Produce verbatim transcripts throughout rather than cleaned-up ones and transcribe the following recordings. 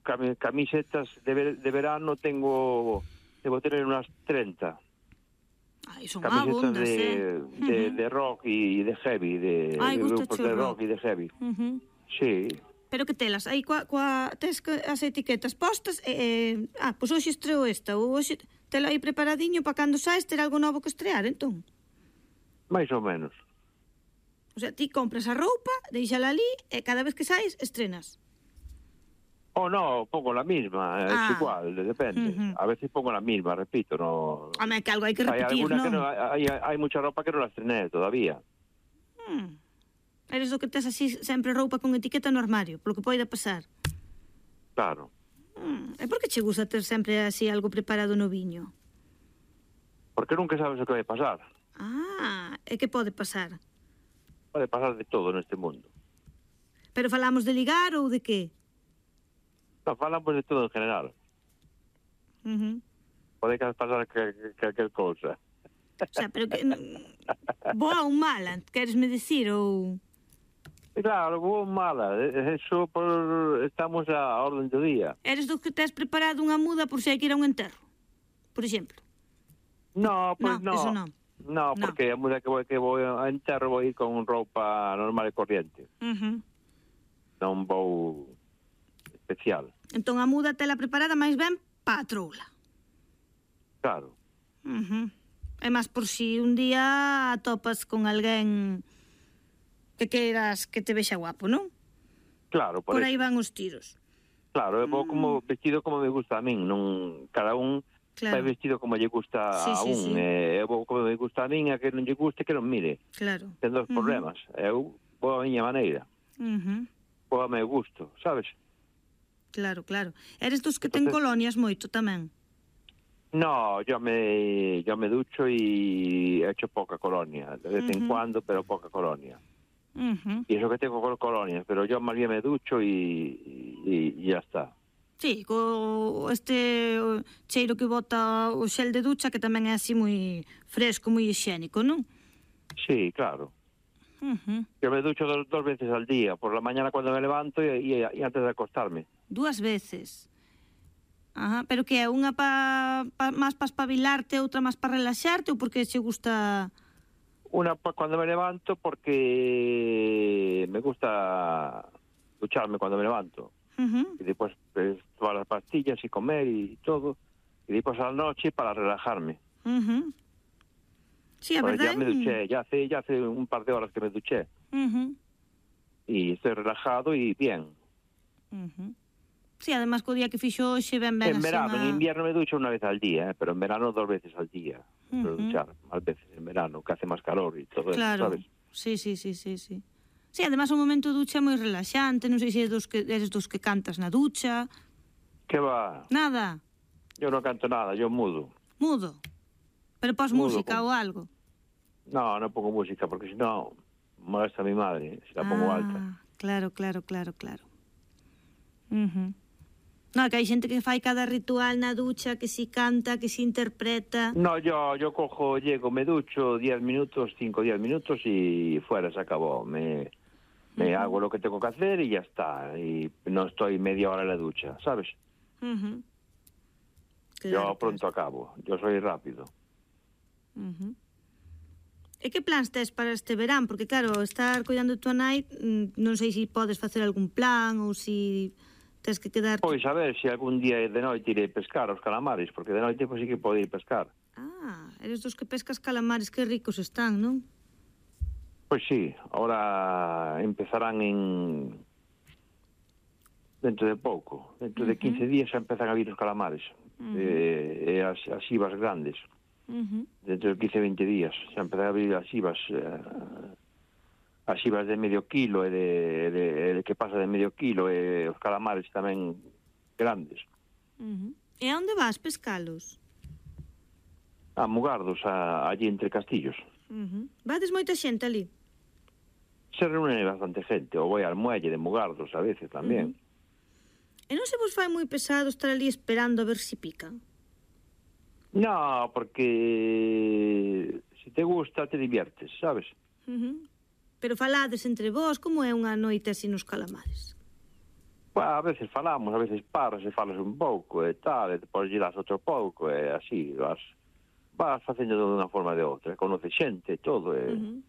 cami camisetas de, ver de verano tengo, debo tener unas treinta. Ai, son Camisetas abundas, de, eh? de, Uh-huh. de rock y de heavy, de, Ai, de grupos de rock. rock y de heavy. Uh-huh. Sí. Pero que telas? Aí coa, coa, tes as etiquetas postas e... Eh, ah, pois hoxe estreo esta, ou hoxe tela aí preparadiño para cando saes ter algo novo que estrear, entón? Mais ou menos. O sea, ti compras a roupa, deixala ali e cada vez que saes estrenas. Oh, no, pongo la misma, ah. Es igual, depende. Uh-huh. A veces pongo la misma, repito, no... Home, que algo hai que repetir, hay alguna non? Que no hay, hay mucha ropa que non la estrené todavía. Hmm. Eres do que tes así sempre roupa con etiqueta no armario, polo que poida pasar. Claro. Hmm. E por que che gusta ter sempre así algo preparado no viño? Porque nunca sabes o que vai pasar. Ah, e que pode pasar? Pode pasar de todo neste mundo. Pero falamos de ligar ou de que? No, falamos de todo en general. Uh-huh. Pode pasar calquer cousa. O sea, pero que... boa ou mala, queres me dicir, ou... Claro, boa ou mala, eso por... estamos a orden do día. Eres do que tes preparado unha muda por se hai que ir a un enterro, por exemplo? No, pois no. no. Eso non. No, porque no. A muda que vou, que vou a enterro vou ir con roupa normal e corriente. Uh-huh. Non vou especial. Entón a muda tela preparada máis ben pa a troula. Claro. Uh-huh. É máis por si un día atopas con alguén que queiras que te vexa guapo, non? Claro, por, por aí eso. Van os tiros. Claro, eu vou como vestido como me gusta a min, non cada un claro. Vai vestido como lle gusta sí, a sí, un, sí. eh, eu vou como me gusta a min, a que non lle guste que non mire. Claro. Ten dos uh-huh. problemas. Eu vou a miña maneira. Uh-huh. Vou a meu gusto, sabes? Claro, claro. Eres dos que ten colonias moito tamén? No, yo me yo me ducho y he hecho poca colonia, de vez uh-huh. en cuando, pero poca colonia. Uh-huh. Y eso que tengo con colonias, pero yo más bien me ducho y, y, y ya está. Sí, co este o cheiro que bota o xel de ducha, que tamén é así moi fresco, moi higiénico, non? Sí, claro. Uh-huh. Yo me ducho dos, dos veces al día, por la mañana cuando me levanto y, y, y antes de acostarme. Dúas veces? Ajá, pero que é unha pa, pa, máis para espabilarte, outra máis para relaxarte, ou porque che gusta... Una pa, cuando me levanto porque me gusta ducharme cuando me levanto. Uh-huh. Y después pues, tomar las pastillas y comer y todo. Y después a la noche para relajarme. Uh-huh. Sí, a verdade... Ya me duché, ya hace, ya hace un par de horas que me duché. Uh-huh. Y estoy relajado y bien. Uh-huh. Sí, además co día que fixo hoxe ben ben en verano, una... en invierno me ducho una vez al día, ¿eh? Pero en verano dos veces al día. Uh-huh. Pero duchar más veces en verano, que hace más calor y todo claro. eso, ¿sabes? Sí, sí, sí, sí, sí. Sí, además un momento de ducha é moi relaxante, non sei se eres dos que, eres dos que cantas na ducha. ¿Qué va? Nada. Yo no canto nada, yo mudo. Mudo? Pero pos música como... ou algo? No, no pongo música, porque si no molesta a mi madre, si la pongo ah, alta. Claro, claro, claro, claro. Uh-huh. No, que hai xente que fai cada ritual na ducha, que si canta, que si interpreta. No, yo yo cojo, llego, me ducho diez minutos, cinco, diez minutos y fuera, se acabó. Me, me uh-huh. hago lo que tengo que hacer y ya está. Y no estoy media hora en la ducha, ¿sabes? Uh-huh. Claro, yo pronto claro. acabo, yo soy rápido. Uh-huh. E que plans tes para este verán? Porque claro, estar cuidando de tua nai, non sei se podes facer algún plan ou se tes que quedar... Pois a ver, se algún día de noite irei pescar os calamares, porque de noite pois sí que pode ir pescar. Ah, eres dos que pescas calamares, que ricos están, non? Pois sí, ahora empezarán en... dentro de pouco, dentro uh-huh. de quince días xa empezan a vir os calamares, uh-huh. e, e as, as ibas grandes. Uh-huh. Dentro de quince, veinte días xa empezan a abrir as ibas eh, as ibas de medio kilo e de, de, de que pasa de medio kilo e os calamares tamén grandes. Uh-huh. E a onde vas pescalos? A Mugardos, a, allí entre castillos. Uh-huh. Vades moita xente ali? Se reúne bastante gente, ou vai al muelle de Mugardos a veces tamén. Uh-huh. E non se vos fai moi pesado estar ali esperando a ver se pican? No, porque se te gusta te diviertes, sabes? Uh-huh. Pero falades entre vós, como é unha noite así nos calamares? Pues, a veces falamos, a veces paras e falas un pouco e tal, e depois lle das outro pouco e así, vas, vas facendo de unha forma ou de outra, conoces xente e todo, e, uh-huh.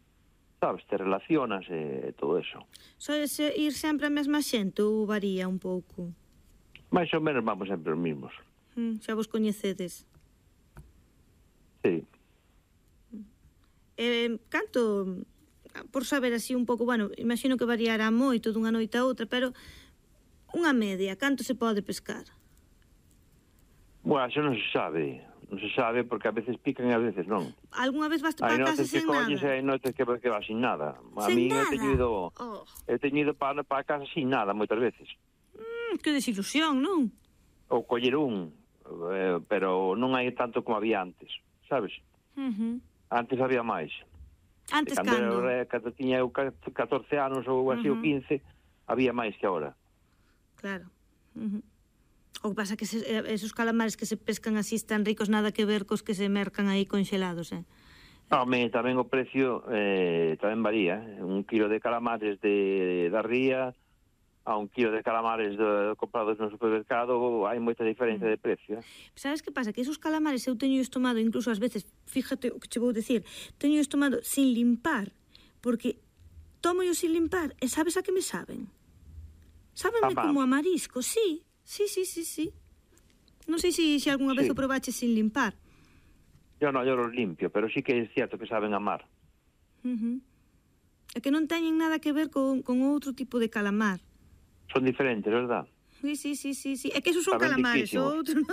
sabes, te relacionas e, e todo eso. Soes ir sempre a mesma xente ou varía un pouco? Mais ou menos vamos sempre os mismos. Mm, xa vos coñecedes? Sí. Eh, canto, por saber así un pouco, bueno, imagino que variará moito dunha noite a outra, pero unha media, canto se pode pescar? Bueno, eso non se sabe, non se sabe porque a veces pican e a veces non. Algúnha vez vas para casa sen nada? Hai notes que colles e hai notes que, que vas sin nada. A Sen mí nada? he teñido, oh. he teñido para, para casa sin nada moitas veces. Mm, que desilusión, non? Ou coller un, eh, pero non hai tanto como había antes, sabes? Uh-huh. Antes había máis. Antes cando? cando? Era, cando tiña eu catorce anos ou así, uh-huh. ou quince, había máis que agora. Claro. Uh-huh. O que pasa que se, esos calamares que se pescan así están ricos, nada que ver cos que se mercan aí conxelados, eh? Home, tamén o precio eh, tamén varía. Un kilo de calamares de, da ría a un kilo de calamares de, comprados no supermercado hai moita diferencia mm. de precio. Eh? Sabes que pasa? Que esos calamares eu teño tomado incluso ás veces, fíjate o que che vou dicir, teño tomado sin limpar, porque tomo yo sin limpar e sabes a que me saben? Sábenme como a marisco, sí, sí, sí, sí, sí. Non sei se si, si algunha vez sí. o probache sin limpar. Yo no, yo los limpio, pero sí que é cierto que saben a mar. Uh-huh. É que non teñen nada que ver con, con outro tipo de calamar. Son diferentes, verdad? Sí, sí, sí, sí, sí. É que esos son Saben calamares, outro.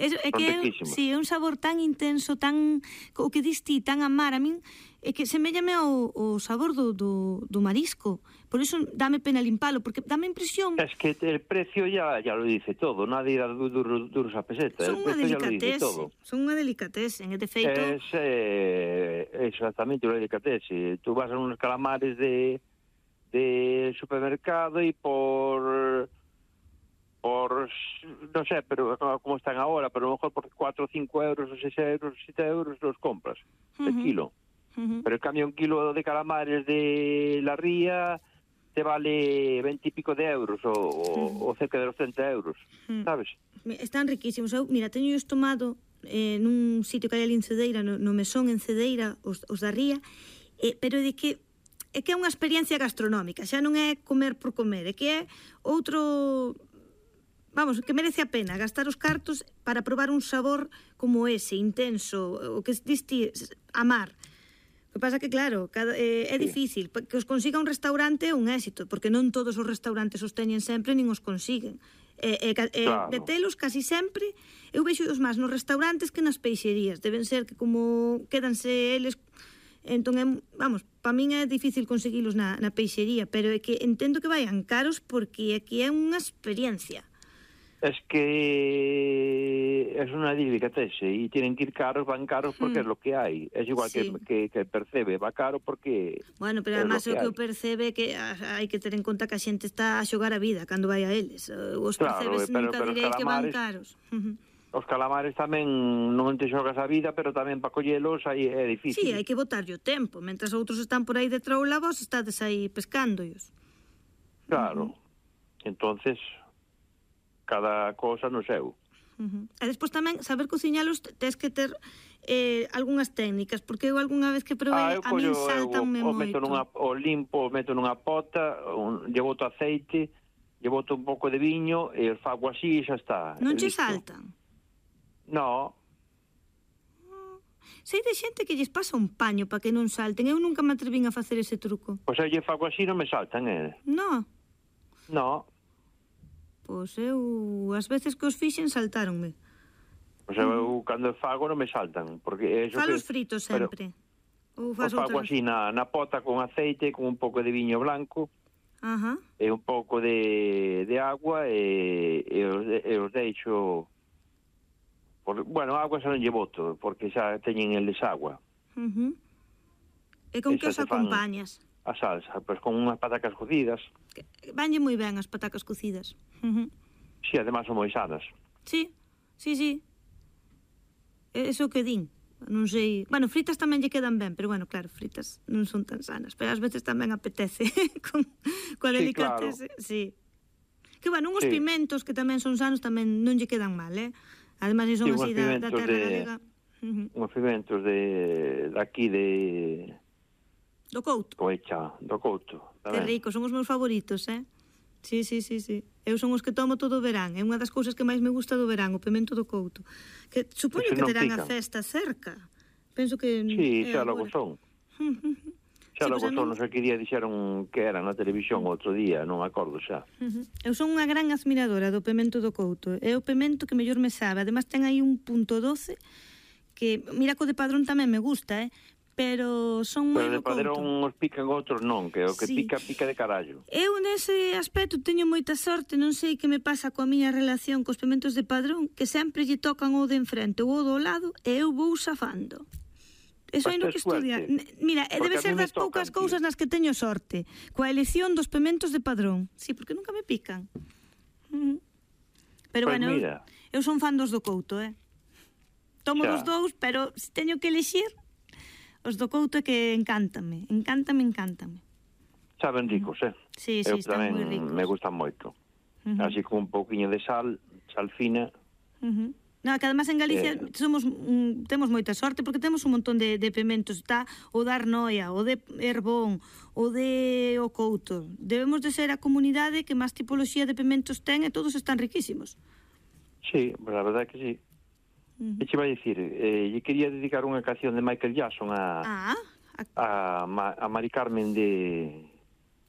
Eso, é que é, sí, é un sabor tan intenso, tan o que dis ti, tan a mar. A min é que semellame ao, ao sabor do, do, do marisco. Por iso dame pena limpalo, porque dame impresión... Es que el precio ya, ya lo dice todo, nadie da duros, duros a peseta. Son unha delicatese, son unha delicatese, de feito... Es eh, exactamente unha delicatese. Tú vas a unos calamares de... de supermercado y por por no sé, pero como están ahora, pero a lo mejor por cuatro o cinco euros o seis euros, siete euros los compras uh-huh. el kilo. Uh-huh. Pero en cambio un kilo de calamares de la ría te vale veinte y pico de euros o, uh-huh. o cerca de los treinta euros, uh-huh. ¿sabes? Están riquísimos. Eu, mira, teño eu tomado eh, nun sitio que hai ali en Cedeira, no, no mesón en Cedeira, os, os da ría, eh, pero de que é que é unha experiencia gastronómica, xa non é comer por comer, é que é outro, vamos, que merece a pena gastar os cartos para probar un sabor como ese, intenso, o que diste a mar. O que pasa que, claro, cada, eh, é difícil, que os consiga un restaurante é un éxito, porque non todos os restaurantes os teñen sempre, nin os consiguen. Eh, eh, eh, claro. De telos casi sempre, eu vexo os máis nos restaurantes que nas peixerías, deben ser que como quédanse eles... Entón, vamos, para min é difícil conseguilos na, na peixería, pero é que entendo que vayan caros porque aquí é unha experiencia. Es que es una delicatese y tienen que ir caros, van caros porque mm. es lo que hay. Es igual sí. que, que, que Percebe, va caro porque... Bueno, pero además o que, que o Percebe que hai que ter en conta que a xente está a xogar a vida cando vai a eles. Os claro, Percebes pero, nunca pero direi calamares... que van caros. Os calamares tamén non te xogas a vida, pero tamén para collelos aí é difícil. Sí, hai que botarlle o tempo, mentras outros están por aí de troula, vos estades aí pescándoos. Claro. Uh-huh. Entonces, cada cosa no seu. Uh-huh. E despois tamén, saber cociñalos, tes que ter eh, algunhas técnicas, porque eu algunha vez que probei, ah, a min saltanme o, o moito. Meto nunha, o limpo, o meto nunha pota, un, lle boto aceite, lle boto un pouco de viño, e o fago así e xa está. Non che saltan? No. Sei de xente que lles pasa un paño para que non salten. Eu nunca me atrevín a facer ese truco. Pois eu lle fago así non me saltan, eh? No. No. Pois eu, as veces que os fixen, saltáronme. Pois eu, mm. cando fago non me saltan, porque... Falos que... fritos sempre. Ou fago outra... así na, na pota con aceite, con un pouco de viño blanco, uh-huh. e un pouco de, de agua, e, e, os, e os deixo... Por, bueno, agua xa non lle boto, porque xa teñen eles agua. Uh-huh. E con que os acompañas? A salsa, pois con unhas patacas cocidas. Vanlle moi ben as patacas cocidas. Uh-huh. Sí, además son moi sanas. Sí, sí, sí. Eso que din. Non sei... Bueno, fritas tamén lle quedan ben, pero bueno, claro, fritas non son tan sanas. Pero ás veces tamén apetece con, coa sí, delicatese. Claro. Sí. Que, bueno, uns Sí. pimentos que tamén son sanos tamén non lle quedan mal, eh? Ademais, son Sí, así uns da, da pimentos terra de- galega. Uh-huh. Uns pimentos de daqui de Do Couto. Coecha, do Couto. Que tamén. rico, son os meus favoritos, eh? Sí, sí, sí, sí. Eu son os que tomo todo o verán. É unha das cousas que máis me gusta do verán, o pimento do Couto. Que supoño Ese que non terán a pican. festa cerca. Penso que Sí, é xa logo agora. son. Xa Sí, logo pois a son, min- non sei que día dixeron que era na televisión outro día, non me acordo xa. Ujú. Eu son unha gran admiradora do pemento do Couto. É o pemento que mellor me sabe. Ademais ten aí un punto doce que, mira, co de Padrón tamén me gusta, eh? Pero son moi Pero de do Padrón Couto. os pican outros non, que o que Sí. pica, pica de carallo. Eu nese aspecto teño moita sorte, non sei que me pasa coa miña relación cos pementos de Padrón, que sempre lle tocan o de enfrente ou o do lado e eu vou safando. Eso Pois hai no tes que estudiar. suerte. N- Mira, e Porque debe a ser mí me das poucas tocan, tío. cousas nas que teño sorte, coa elección dos pementos de Padrón. Sí, porque nunca me pican. Ujú. Pero Pois bueno, eu, mira. eu son fan dos do Couto, eh? Tomo Xa. dos dous, pero se teño que elixir, os do Couto é que encántame, encántame, encántame. Saben ricos, eh? Sí, sí, Eu están tamén moi ricos. me gustan moito. Ujú. Así con un pouquiño de sal, sal fina. Uh-huh. No, que además en Galicia Eh. somos mm, temos moita sorte porque temos un montón de, de pementos, está o da Arnoia, o de Herbón, o de o Couto. Debemos de ser a comunidade que máis tipoloxía de pementos ten e todos están riquísimos. Sí, pues la verdad que sí. Uh-huh. E che vai dicir, eh, lle quería dedicar unha canción de Michael Jackson a, Ah, a- a, Ma- a Mari Carmen de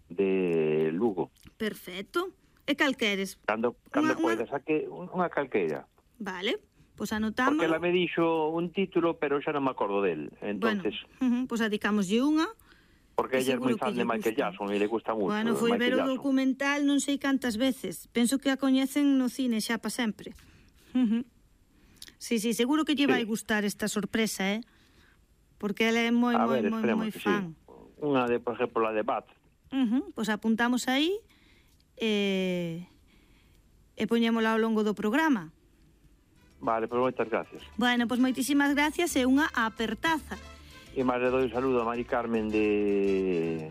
de Lugo. perfecto. E cal queres? Cando, cando Unha- unha- poida, saque un- unha calqueira. Vale, pois pues anotamos. Porque ela me dixo un título, pero xa non me acordo del. Entonces, Bueno, uh-huh, pois pues adicámoslle unha. porque que ella é moi seguro fan que de lle Michael gusta. Jackson e le gusta moito. Bueno, foi Michael ver o Jackson. documental non sei cantas veces. Penso que a coñecen no cine xa pa sempre. Uh-huh. Sí, sí, seguro que lle Sí. vai gustar esta sorpresa, eh? Porque ela é moi, A moi, ver, moi, esperemos moi que fan. sí. Unha de, por exemplo, la de Bat. Uh-huh. Pois apuntamos aí e, e poñémola ao longo do programa. Vale, pues moitas gracias. Bueno, pois moitísimas gracias e unha apertaza. E máis le doi un saludo a Mari Carmen de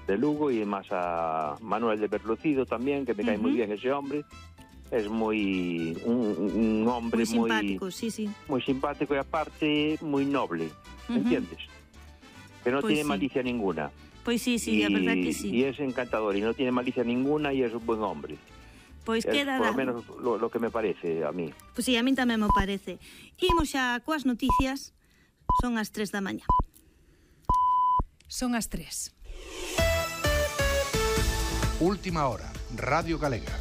de Lugo e máis a Manuel de Berlocido tamén, que me cae Ujú. moi bien ese hombre. Es moi un, un hombre Moi moi simpático, sí, sí. moi simpático e aparte moi noble, Ujú. ¿entiendes? Que no Pois tiene sí. malicia ninguna. Pois sí, sí, y, a verdad que sí. y es encantador y no tiene malicia ninguna y es un buen hombre. Pois Es queda por lo dado. menos lo, lo que me parece a mí. Pois sí, a min tamén me parece. Imos xa coas noticias. Son as tres da mañá. Son as tres. Última hora, Radio Galega.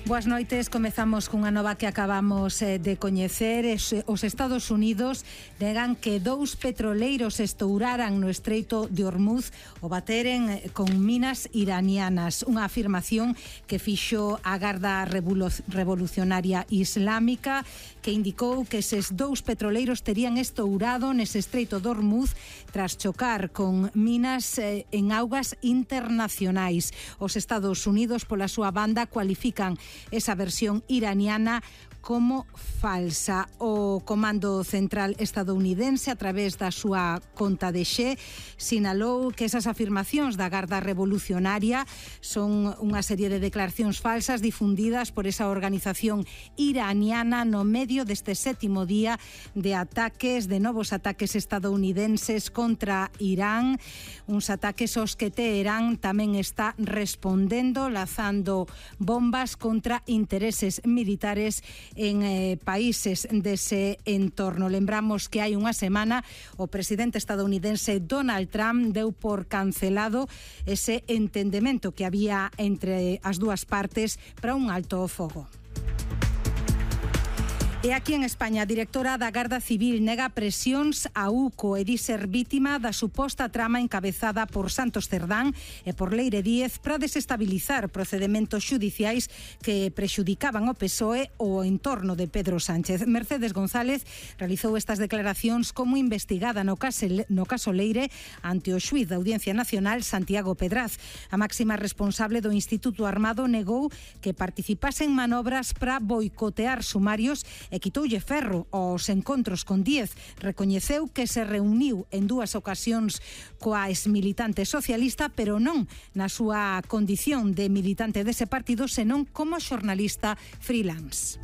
Boas noites, comezamos cunha nova que acabamos eh, de coñecer. Es, os Estados Unidos negan que dous petroleiros estouraran no Estreito de Hormuz o bateren eh, con minas iranianas. Unha afirmación que fixo a Garda Revolu- Revolucionaria Islámica, que indicou que eses dous petroleiros terían estourado nese Estreito de Hormuz tras chocar con minas eh, en augas internacionais. Os Estados Unidos, pola súa banda, cualifican esa versión iraniana como falsa. O Comando Central estadounidense, a través da súa conta de Xe, sinalou que esas afirmacións da Garda Revolucionaria son unha serie de declaracións falsas difundidas por esa organización iraniana no medio deste sétimo día de ataques, de novos ataques estadounidenses contra Irán, uns ataques aos que Teherán tamén está respondendo, lanzando bombas contra intereses militares en eh, países dese entorno. Lembramos que hai unha semana o presidente estadounidense Donald Trump deu por cancelado ese entendemento que había entre as dúas partes para un alto o fogo. E aquí en España, a directora da Garda Civil nega presións a U C O e di ser vítima da suposta trama encabezada por Santos Cerdán e por Leire Díez para desestabilizar procedementos xudiciais que prexudicaban o P S O E o entorno de Pedro Sánchez. Mercedes González realizou estas declaracións como investigada no caso, no caso Leire ante o xuíz da Audiencia Nacional Santiago Pedraz. A máxima responsable do Instituto Armado negou que participase en manobras para boicotear sumarios e quitoulle ferro aos encontros con Díez. Recoñeceu que se reuniu en dúas ocasións coa exmilitante socialista, pero non na súa condición de militante dese partido, senón como xornalista freelance.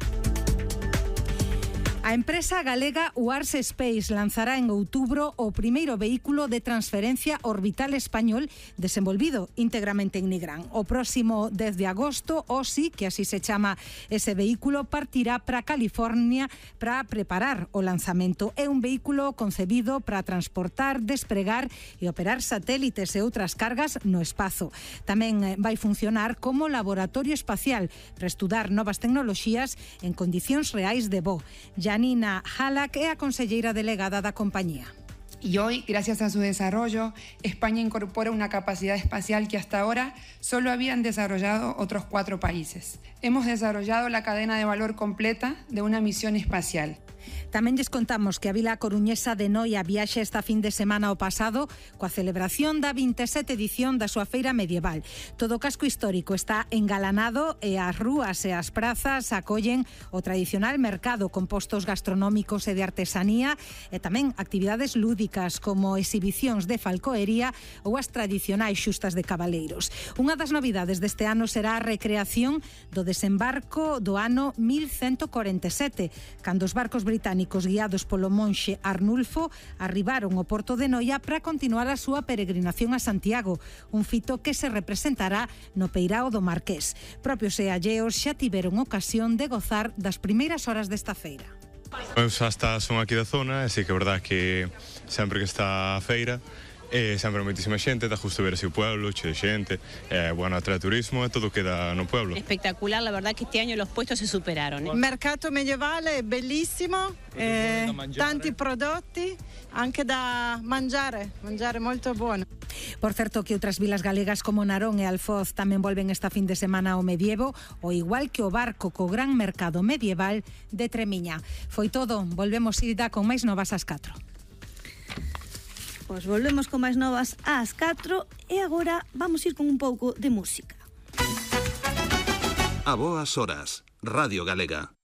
A empresa galega Wars Space lanzará en outubro o primeiro vehículo de transferencia orbital español desenvolvido íntegramente en Nigrán. O próximo dez de agosto, o sí, que así se chama ese vehículo, partirá para California para preparar o lanzamento. É un vehículo concebido para transportar, despregar e operar satélites e outras cargas no espazo. Tamén vai funcionar como laboratorio espacial para estudar novas tecnoloxías en condicións reais de voo. Janina Halak é a conselleira delegada da compañía. Y hoy, gracias a su desarrollo, España incorpora una capacidad espacial que hasta ahora solo habían desarrollado otros cuatro países. Hemos desarrollado la cadena de valor completa de una misión espacial. Tamén lles contamos que a vila coruñesa de Noia viaxe esta fin de semana o pasado coa celebración da vinte e sete edición da súa feira medieval. Todo o casco histórico está engalanado e as rúas e as prazas acollen o tradicional mercado con postos gastronómicos e de artesanía e tamén actividades lúdicas como exhibicións de falcoería ou as tradicionais xustas de cabaleiros. Unha das novidades deste ano será a recreación do desembarco do ano mil ciento cuarenta e sete, cando os barcos británicos guiados polo monxe Arnulfo arribaron ao porto de Noia para continuar a súa peregrinación a Santiago, un fito que se representará no Peirao do Marqués. Propios e alleos xa tiveron ocasión de gozar das primeiras horas desta feira. Eu xa está, son aquí da zona, e sí que é verdad que sempre que está a feira e sempre moitísima xente, dá justo ver así o pueblo, che de xente, é bueno atrae turismo e todo queda no pueblo. Espectacular, la verdad que este año los puestos se superaron. Il mercato medievale è bellissimo, eh, tanti prodotti, anche da mangiare, mangiare molto buono. Por certo que outras vilas galegas como Narón e Alfoz tamén volven esta fin de semana ao medievo, o igual que o Barco co gran mercado medieval de Tremiña. Foi todo, volvemos ir da con máis novas ás catro. Pois volvemos con máis novas ás catro e agora vamos ir con un pouco de música. A boas horas, Radio Galega.